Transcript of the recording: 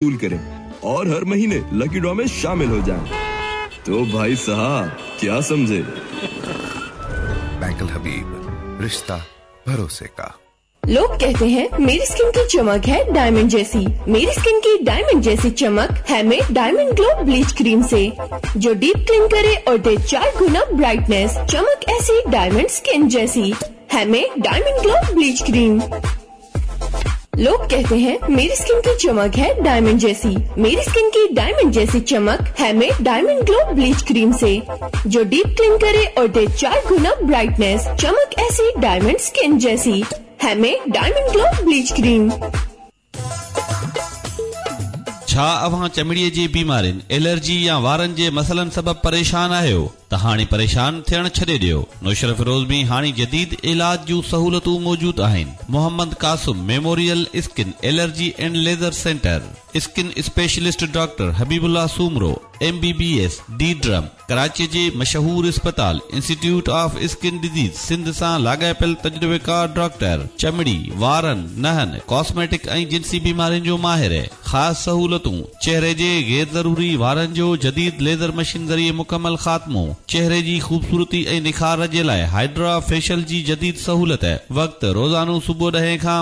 वसूल करें और हर महीने लकी ड्रॉ में शामिल हो जाएं। तो भाई साहब क्या समझे बैंक अल हबीब रिश्ता भरोसे का लोग कहते हैं मेरी स्किन की चमक है डायमंड जैसी। मेरी स्किन की डायमंड जैसी चमक है में डायमंड ग्लो ब्लीच क्रीम से, जो डीप क्लीन करे और दे 4 गुना ब्राइटनेस। चमक ऐसी डायमंड स्किन जैसी है में डायमंड ग्लो ब्लीच क्रीम। लोग कहते हैं मेरी स्किन की चमक है डायमंड जैसी। मेरी स्किन की डायमंड जैसी चमक है में डायमंड ग्लो ब्लीच क्रीम से, जो डीप क्लीन करे और दे 4 गुना ब्राइटनेस। चमक ऐसी डायमंड स्किन जैसी है में डायमंड ग्लो ब्लीच क्रीम। छा अव्हां चमड़ीअ जी बीमारियुनि, एलर्जी या वारनि जे मसइलनि सबबि परेशान आहियो त हाणे परेशान थियणु छॾे ॾियो। नौशहरो फिरोज़ में हाणे जदीद इलाज जूं सहूलियतूं मौजूदु आहिनि। Mohammad Qasim memorial skin allergy and laser centre, skin specialist doctor Habibullah Soomro, M B B S, D derm, Karachi जे मशहूर अस्पताल institute of skin disease Sindh सां लाॻापियल तजुर्बेकार डॉक्टर, चमड़ी, वारनि, नहनि, कॉस्मेटिक ऐं जिनसी बीमारियुनि जो माहिर। ख़ासि सहूलियतूं, चेहरे जे गैर ज़रूरी वारनि जो जदीद लेज़र मशीन ज़रिए मुकमल ख़ात्मो, चेहरे जी ख़ूबसूरती ऐं निखार जे लाइ हाइड्रा फेशियल जी जदीद सहूलियत। वक़्तु रोज़ानो सुबुह 10 खां